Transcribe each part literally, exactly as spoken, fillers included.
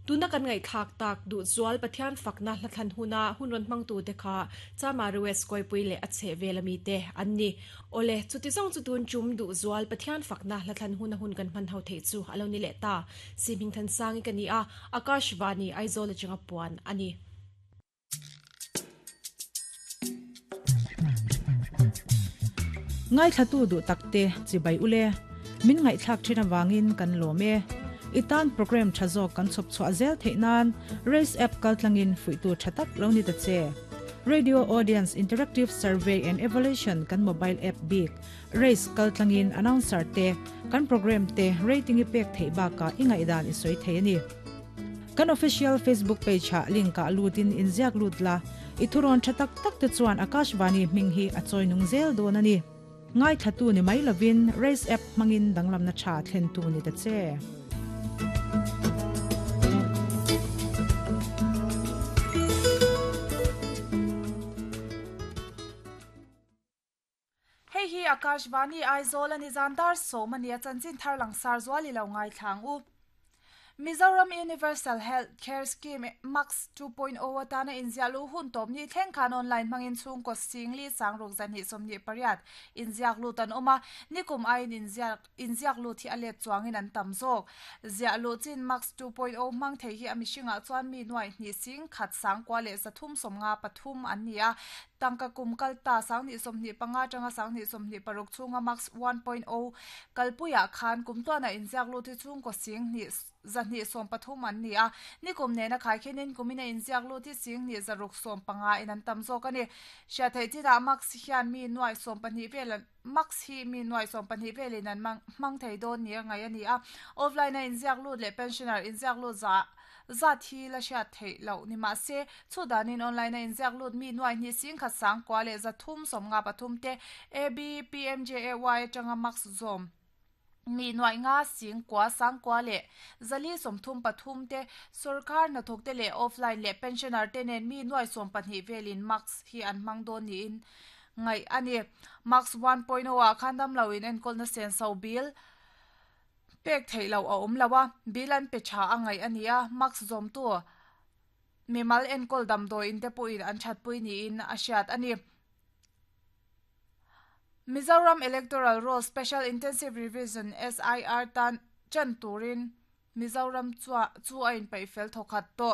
Tuna kan ngai thak tak du zual Pathian fakna hlathan huna hunron mangtu te kha chama rues koi pui le ache velami te anni ole chuti zong chu tun chum du zual Pathian fakna hlathan huna hun kan man hau thei chu aloni le ta siming than sangi kani a Akashvani Aizawl chinga puan ani. Ngai thatu du takte chibai ule min ngai thak thina wangin kan lome itan program thazo kan chop chwa zel theinan race app kaltlangin fuitu thatak loni ta che radio audience interactive survey and evaluation kan mobile app big race kaltlangin announcer te kan program te rating ipek thei ba ka ingai dan isoi theini kan official Facebook page ha link ka lutin inziak lutla ithuron thatak tak te chuan Akashvani minghi achoi nung zel donani ngai thatu ni mai lovin race app mangin danglam na tha thlen tu ni ta che. Hei hi Akashvani Aizawl ani zandar somania chanchin tharlang sar zwali lo ngai thlang u. Mizoram Universal Health Care Scheme Max two point oh atana inzialu hun top ni thleng khan online mangin chung ko singli sangruk zani somni pariat inziak lu tan oma nikum ain inziak inziak lu thi alet chuangin an tam zok zialu chin Max two point oh mang thei hi amishinga chuan mi nuai ni sing khat sang kwa le zathum somnga pathum an nia tangka kumkal ta sangni somni panga tanga sangni somni paruk chunga Max one point oh kalpuya khan kumtona inziak lu thi chung ko sing ni zani som pathum an ni a nikum ne na khai khenin kumina inziak lu thi sing ni zaruk som panga in an tam zok ani sha thei chi da Max hian mi nuai som pani vel Max hi mi nuai som pani velin an mang mang thei don ni ngai ani a offline na inziak lu le pensioner inziak lu za za thi la sha thei lo ni ma se chu danin online na inziak lut mi nuai ni sing kha sang kwa le za thum som nga pathum te A B P M J A Y tanga Max zom mi nuai nga sing kwa sang kwa le zali som thum pathum te sarkar na thok te le offline le pensioner te nen mi nuai som pahnih velin Max hi an mang don ni in ngai ani Max one point oh a khandam lawin en kol na sen so bill pek thei lo a om lawa bilan pe cha angai ania Max zom tu mimal en kol dam do in te puin an chat pui ni in asiat ani. Mizoram Electoral Roll Special Intensive Revision S I R tan chan turin Mizoram chua chu ain pai fel thokhat to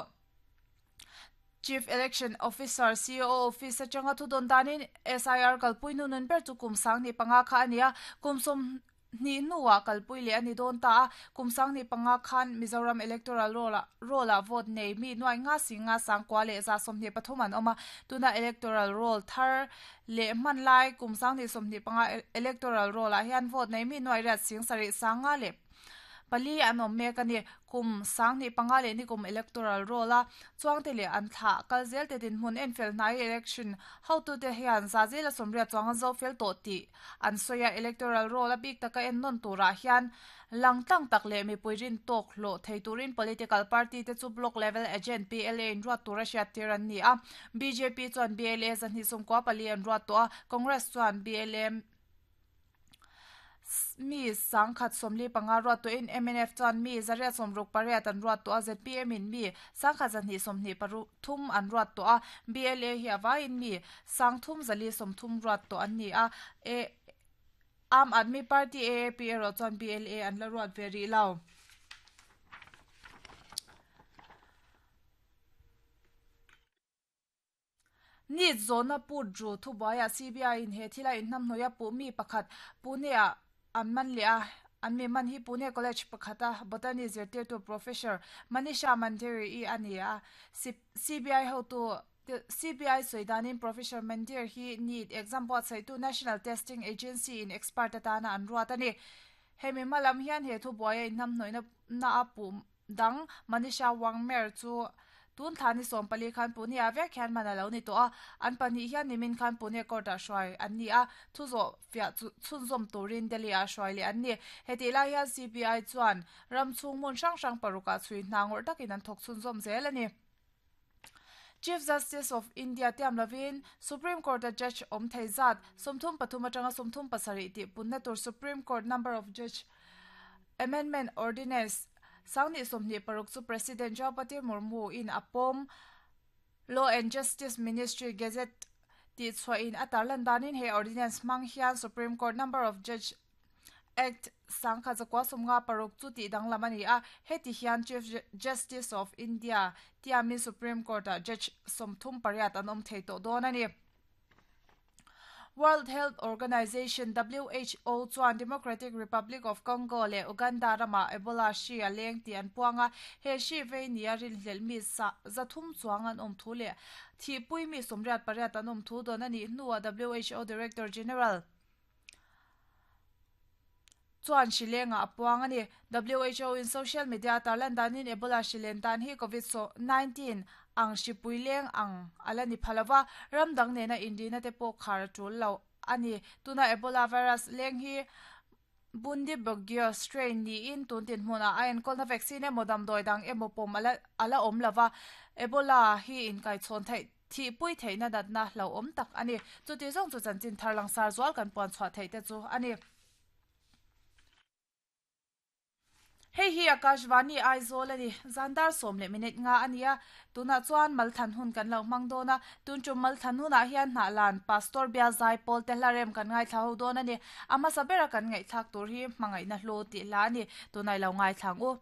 Chief Election Officer C O Office changa thu don danin S I R kalpui nunun ber chu kumsang ni panga kha ania kumsum ni nuwa kalpui le ani don ta kumsang ni panga khan Mizoram Electoral Roll roll vote nei mi nuai nga singa sang kwa le za somni pathum an oma tuna electoral roll thar le man lai kumsang ni somni panga electoral roll a hian vote nei mi nuai rat sing sari sanga le pali an om mek ani kum sang ni panga le ni kum electoral roll a chuang te le an tha kalzel te din hun en fel nai election how to te hian za zela somria chuang zo fel to ti an soya electoral roll a bik taka en non tura hian langtang tak le mi puirin tok lo theiturin political party te chu block level agent P L A in ruat tura hriat tir an ni a B J P chuan B L A zan hi sum kwa pali an ruat to a Congress chuan B L M mi sangkhat somli panga ruat to in M N F chuan mi zaria somruk pariat an ruat to a Z P M in mi sangkhat zan hi somni paru thum an ruat to a B L A hi awa in mi sangthum zali somthum ruat to an ni a e Aam Aadmi Party A A P ro chuan B L A an la ruat ve ri lo. Ni zona put ru thu baya C B I in he thila in nam noya pu mi pakhat Pune a an man le a an mi man hi Pune College pakhata botany zirtir tu professor Manisha Mandiri i ania C B I ho tu C B I soidanin Professor Mandir hi need exam board sai tu National Testing Agency in expert atana an ruat ani hemi malam hian he thu boya in nam noina na apu dang Manisha Wangmer chu tun thani som pali khan Pune a vek hian mana lo ni to a an pani hian nimin khan Pune court a hruai an ni a thu zo fia chu chhunzawm turin Delhi a hruai le an ni heti lai hian C B I chuan ram chhung hmun hrang hrang paruka chhui hnangawr takin an thawk chhunzawm zel ani. Chief Justice of India Tiam Lavin Supreme Court a judge om thei zat somthum pathum atanga somthum pasarih tih punna tur Supreme Court number of judge Amendment Ordinance Sangni somni paruk chu President Draupadi Murmu in apom Law and Justice Ministry Gazette ti chwa in atarlan danin he ordinance mang hian Supreme Court Number of Judge Act sangkha zakwa somnga paruk chu ti danglam ani a heti hian Chief Justice of India tiami Supreme Court a Judge somthum pariat anom theito don ani. World Health Organization W H O chuan Democratic Republic of Congo le Uganda rama Ebola shi a leng ti an puanga he shi vei nia rin hlel mi sa zathum chuang an om thu le thi pui mi somriat pariat an om thu don ani nuwa W H O Director General chuan shilenga apuang ani. W H O in social media tarlan danin Ebola shilen dan hi COVID nineteen ang shipuileng ang alani phalawa ramdang nena indina te po khar tul lo ani. Tuna Ebola virus leng hi bundi bogyo strain ni in tun tin hmuna a en kolna vaccine modam doi dang emo pom ala ala om lawa Ebola hi in kai chon thai thi pui theina datna lo om tak ani. Chuti zong chu chanchin tharlang sar zwal kan pon chwa thei te chu ani. Hei hi Akashvani Aizawl ani zandar som le minute nga ania tuna chuan malthan hun kan lo mang dona tun chu malthan huna hian hna lan pastor bia zai pol te hlarem kan ngai thlau don ani ama sabera kan ngai thak tur hi mangai na hlo ti la ani tunai lo ngai thlang u.